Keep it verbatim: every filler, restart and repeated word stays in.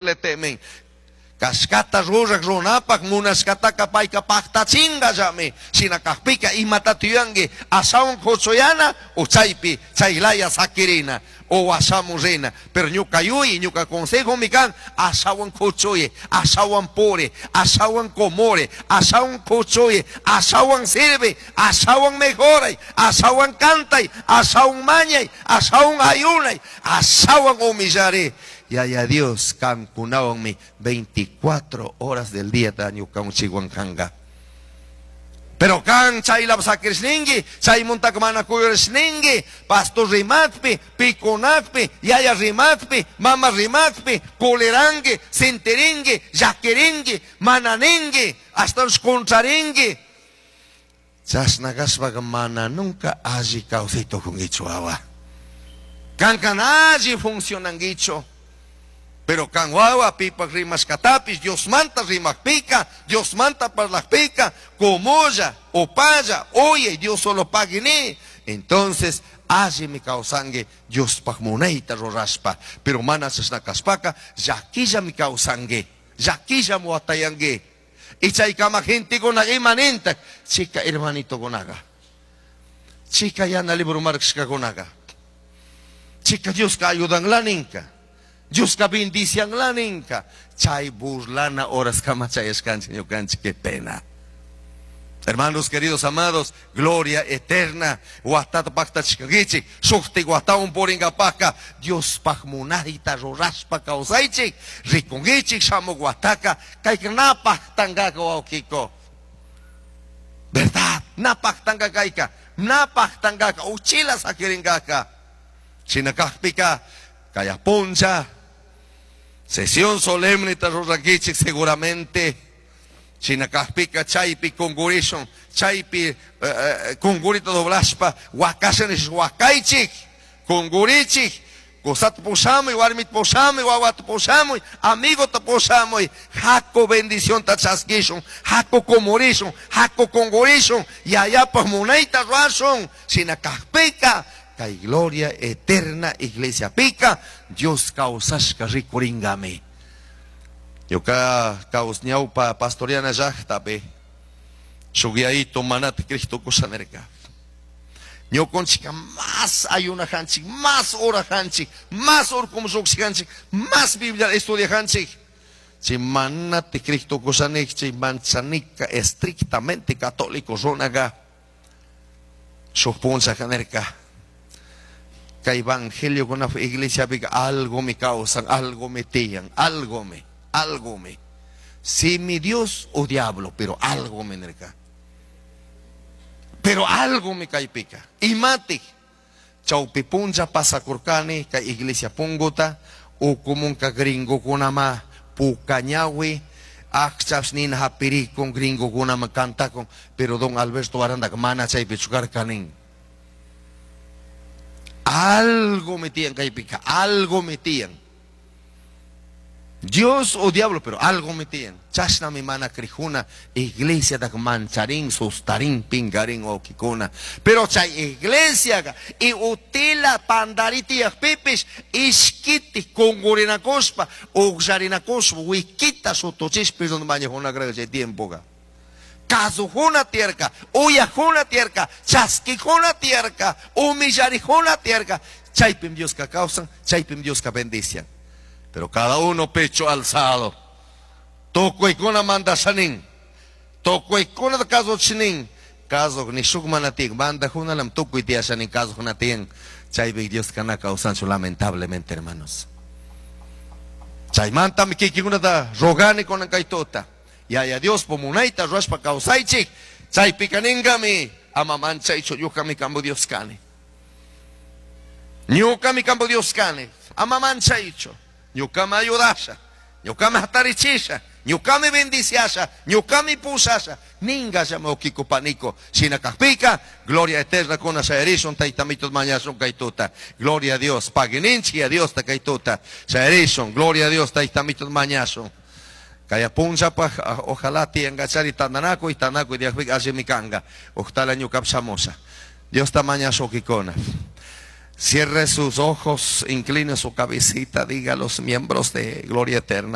Le temen. Kashkata ruraq runapaq munashkataka payka paqtachingallami. Shina kaqpika imatata yuyanki ashawan kuchuyana o chaypi chaylaya sakirina o washamun rina. Pero ñuka yuyi, ñuka consejomi kan ashawan kuchuyi, ashawan puri, ashawan kumuri, ashawan kuchuyi, ashawan sirvi, ashawan mejoray, ashawan cantay, ashawan mañay, ashawan ayunay, ashawan humillari. Yaya Dios kankunawanmi veinticuatro horas del día ñukawan chikwan kanga. Pero kan chaylap sakirishninki, chaymuntaka mana kuyurishninki, pastor rimakpi, pikunakpi, yaya rimakpi, mama rimakpi, kuliranki, sintirinki, llakirinki, mana ninki, hasta contrarinki. Chashna kashpaka mana nunca alli kawsay tukunkichu wawa. Kankan alli funcionankichu. Pero kan wawa pipak rimashkatapis, Dios manta rimakpika, Dios manta parlakpika, kumulla, upalla, oye, Dios solo pagini. Entonces, alli mi kawsanki Diospaj munayta rurashpa. Pero mana chashna kashpaka, llakilla mi kawsanki, llakilla muwatayanki. Y chaykama gentekuna ima nintak, chica hermanitokunaqa, chica yana libro markashkakunaqa, chica Dioska ayudanla ninka, Dioska bendicianla ninka. Chay burlana horas kama chayashkanchik ñukanchik, qué pena. Hermanos queridos amados, gloria eterna. Watata paqtachishkankichik, shuktik watawan purinkapaqqa, Diospaj munayta rurashpa kawsaychik, rikunkichik shamuk wataka, kayka na paqtankaka wawqiko. Verdad, na paqtanka kayka, na paqtankaka, uchila sakirinkaka. Shina kaqpika, kaya puncha, sesión solemne rurankichik seguramente. Shina kaqpika chaypi kungurishun, chaypi, eh, eh, kungurita doblashpa, wakasha nish wakaychik, kungurichik, kusata pushamuy, warmita pushamuy, wawata pushamuy, amigota pushamuy, haku bendición ta chaskishun, haku kumurishun, haku kungurishun, yayapaj munayta rurashun. Shina kaqpika, kay gloria eterna iglesia pika, Dios kawsashka rikuringami. Ñuka kaus ñawpa pastoriana llaqtapi, shuk yayito manata Cristo kushanerka. Ñukunchika más ayunajanchik, más orajanchik, más urkumshukshikanchik, más Biblia estudiajanchik. Chay manati Cristo kushanik, chay manchanika estrictamente católico runaqa, shuk punchajanerka. Kay evangelio kuna iglesia pika algo me causan, algo me tiyan, algo me, algo me. Si mi Dios o diablo, pero algo me nerka. Pero algo me kaypika. Imati, chawpi puncha pasakurkani kay iglesia punguta, ukumunka gringo kunama pukañawi, akchaps nina hapirikun gringo kunama kantakun, pero don Alberto Aranda mana chaypi chukarkanin. Algo metían kaypika, algo metían. Dios o diablo, pero algo metían. Chashna mi mana krijuna, iglesia da mancharín, sustarín, pingarín o kikuna. Pero chay iglesia y utila pandariti pipis, iskiti kungurinakuspa, uxarinakuspa, wikita sutuchispis donde mañajuna creo que tiempo ga. Kazujuna tierka, uyajuna tierka, chaskijuna tierka, humillarijuna tierka. Chaypim Dios ka causan, chaypim Dios ka bendician. Pero cada uno pecho alzado. Tukuykuna mandashanin. Tukuykuna kasuchinin. Kasuq ni shuk mana tiyan. Mandajunalam tukuy tiyashanin kasuqna tiyan. Chaypi Dios kana kawsanchu lamentablemente, hermanos. Chaymantami kikinkunata rogani kunan kaytuta. Yaya Dios pumunayta ruwashpa kawsaychik. Chaypika ninkami ama manchaychu ñukami kampu Dios kani. Ñukami kampu Dios kani. Ama manchaychu. Ñukami ayudasha, ñukami hatarichisha, ñukami bendiciasha, ñukami pusasha. Ninga llama okiko paniko. Shina kaqpika, gloria eterna kuna shayarishun, taytamitos mañashun kaytuta. Gloria a Dios, paguininchi a Dios ta kaytuta. Shayarishun, gloria a Dios, taytamitos mañashun. Kaya punchapaj, ojalá tiangachari tananaku y tanaku y diajpik allí mi kanga. Ojalá ñukap shamusha. Dios ta mañashu kikona. Cierre sus ojos, incline su cabecita, diga a los miembros de Gloria Eterna.